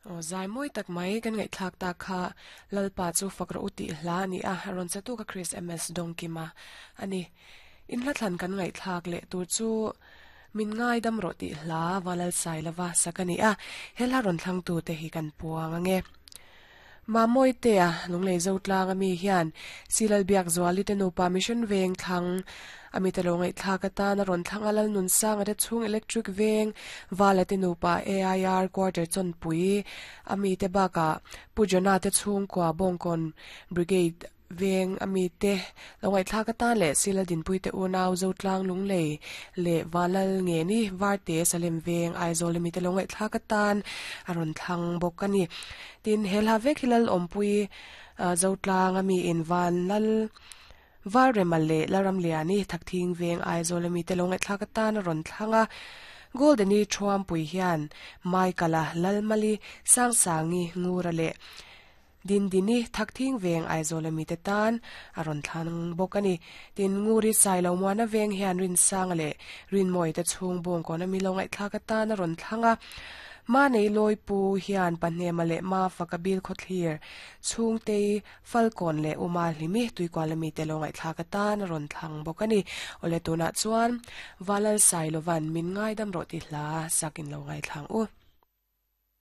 Aw zai mawi tak mai kan ngaihthlak ta kha Lalpa chu fak rawh u tih hla a ni a, rawn che tu ka Chris MS Dawngkima a ni. In hla thlan kan ngaihthlak leh tur chu Min ngaidam rawh tih hla Valal Sailova sak a ni a, he hla rawn thlang tu te hi kan puang ange. Mamawitea Lunglei Zotlang ami hian Silal Biakzuali te nupa Mission Veng thlang a mite lo ngaihthlak atan a rawn thlang a, Lalnunsanga te chhung Electric Veng Vala te nupa AIR Quarter Chawnpui a mite bakah Pu Johna te chhungkua Bawngkawn Brigade Veng a mite lo ngaihthlak atan leh Sila Dinpui te unau Zotlang Lunglei leh Vanlal Ngeni Varte Salem Veng Aizawl a mite lo ngaihthlak atan a rawn thlang bawk a ni. Tin, he hla vek hi Lalawmpui Zotlang a miin Vanlal Valrema leh Lalramliani Thakthing Veng Aizawl a mite lo ngaihthlak atan a rawn thlang a. Goldeni Thuampui hian Maikala Lalmali Sangsangi Ngura leh Dindini Thakthing Veng Aizawl a mite tan a rawn thlang bawk a ni. Tin, Nguri Sailo Muana Veng hian Rinsanga leh Rinmawii te chhung bawngkawn a mi lo ngaihthlak atan a rawn thlang a. Manei Lawipu hian Pahnema leh Mafaka Bil Khawthlir chhungtei Falkawn leh Uma Hlimi Tuikual a mite lo ngaihthlak atan a rawn thlang bawk a ni. Awle tunah chuan Valal Sailovan min ngaidam rawh ti hla sak in lo ngaithlang u.